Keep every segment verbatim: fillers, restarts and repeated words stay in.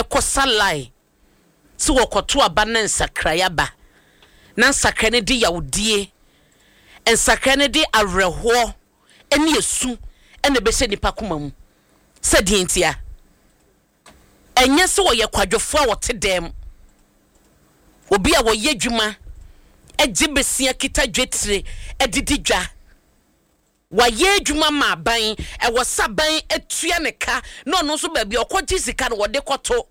Ɛkɔsa line sɛ wɔkɔto aba na nsakraeɛ aba, na nsakraeɛ no de yawdie, nsakraeɛ no de awerɛhoɔ ne esu ɛna ɛbɛhyɛ nipa koma mu sɛ deɛ ntia. Ɛnyɛ sɛ wɔyɛ kwadwofoɔ a wɔte dɛm, obi a wɔyɛ adwuma, agye besia, kita dwetire, adidi dwa, wayɛ adwuma ma aban, ɛwɔ sɛ aban atua ne ka, na ɔno nso baabi a ɔkɔgye sika no wɔde kɔto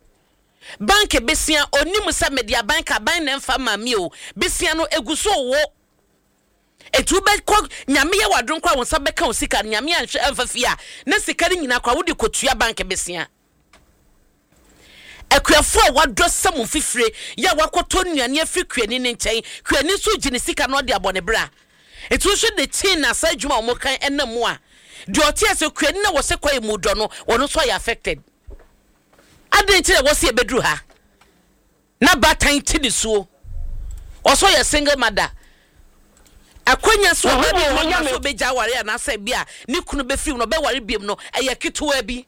bank besia, onim sɛ mede aban ka, aban na mfa ma mi o. Besia no egu so wo etu bɛkɔ. Nyame yɛ wadom kora, wo nsa bɛka wo sika no. Nyame anhwɛ amfa fie a, na sika no nyinaa kora wode kɔtua bank besia. Akuafoɔ a wadɔ sɛ mo mfifire yɛ a wakɔtɔ nnuane afiri kuani ne nkyɛn, kuani nso gye ne sika na ɔde abɔ ne bra. Nti wohwɛ ne kyin na saa adwuma a wɔn kan ɛnam mu a, deɛ ɔte ase, kuani na wɔsɛ kɔ emu dɔ no, wɔn nso ayɛ affected. Adan nti na wɔsi ebeduru ha na baatan ti ne suo, ɔsɔ yɛ single mother, akwanya so ɔbɛ bi hɔ na so ɔbɛgya aware anaasɛ bi a ne kunu bɛfiri mu na ɔbɛware biem no, ɛyɛ ketewa bi.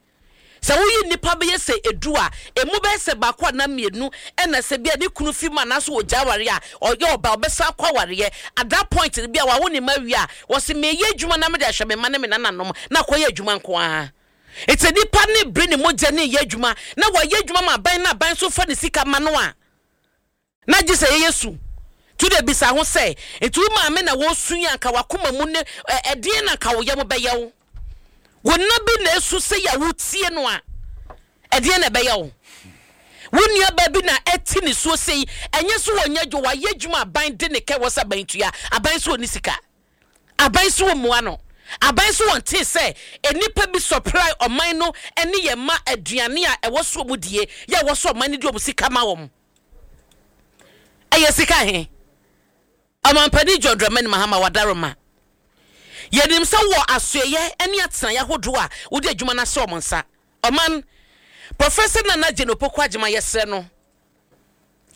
Sɛ woyi nipa bɛyɛ sɛ edu a, emu bɛyɛ sɛ baako anaa mmienu ɛna sɛ bi a ne kunu fi mu anaasɛ wɔgya aware a, ɔyɛ ɔba ɔbɛsa akɔ awareɛ. At that point bi a wawo ne ma wie a, wɔsi meyɛ adwuma na mede ahwɛ me ma ne me nananom na akɔyɛ adwuma nko ara. Eti nipa ne bere ne mogya ne yɛ adwuma na wɔyɛ adwuma ma aban, na aban nso fa ne sika ma no a, na gye sɛ yɛyɛ su tu de bisa ho sɛ, nti wo maame na wɔsu yi, anka wakoma mu ne ɛdeɛn na anka wo yam bɛyɛ wo? Wo nna bi na esu sɛ yɛ wotie no a, ɛdeɛn na ɛbɛyɛ wo? Wo nua bi na ɛte ne suo sɛ yi, ɛnyɛ so wɔnyɛ adwo, wayɛ adwuma, aban de ne kɛ wɔ sɛ aban tua, aban so wɔ ne sika, aban so wɔ mua no, aban so wɔn te sɛ nipa bi supply ɔman no ne yɛn ma aduane a ɛwɔ so ɔmo die yɛ ɛwɔ so ɔman no de ɔmo sika ma wɔn. Ɛyɛ sika he? Ɔmampanin John Dramani Mahama wadaroma, yɛnim sɛ wɔ asoɛyɛ ne atenaeɛ ahodoɔ a wode adwuma no ahyɛ ɔmo nsa. Ɔman Professor Nana Jane Opoku Agyema, yɛsrɛ no,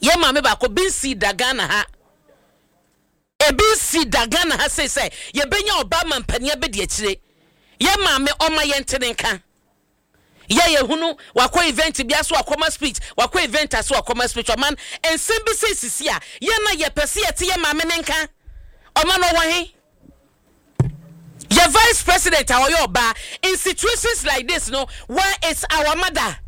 yɛ maame baako bi nsi da Ghana ha, ebi nsi da Ghana ha sei sɛ yɛbɛnya ɔbaa ma mpanin abɛdi akyire. Yɛ maame, ɔma yɛn te ne nka yɛ yɛhunu wakɔ event bi ase, wakɔma speech, wakɔ event ase, wakɔma speech. Ɔman, nsɛm bi sɛ sisi a yɛn na yɛpɛ sɛ yɛte yɛ maame ne nka. Ɔman, ɔwɔ he? Yɛ vice president a ɔyɛ ɔbaa, in situations like this no, where is our mother?